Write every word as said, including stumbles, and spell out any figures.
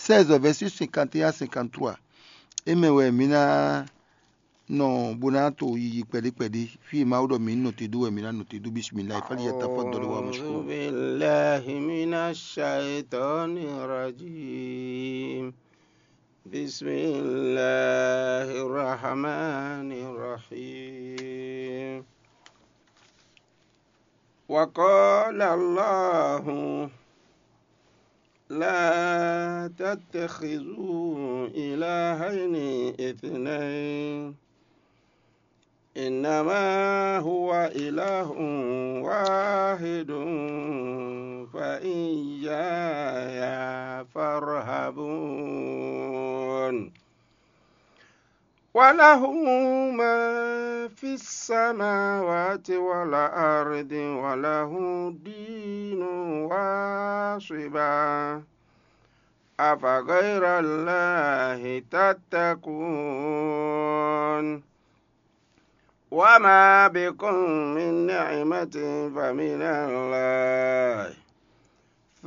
seize, verset cinquante et un à cinquante-trois. É mɛ wɛ mǐ ná nɔ bó ná to yiyi kpɛɖé kpɛɖé. Fí e Mawu ɖɔ mǐ ní nɔ te dó wɛ mǐ ná nɔ te dó. Bismillah, fali ya tafa dɔlɔ wa mashkuru. أعوذ بالله من الشيطان الرجيم. بسم الله الرحمن الرحيم. وقال الله: لا تتخذوا إلهين اثنين، إنما هو إله واحد، فإياي فارهبون. وله ما في السماوات والأرض، وله الدين واصبا، أفغير الله تتقون. وما بكم من نعمة فمن الله،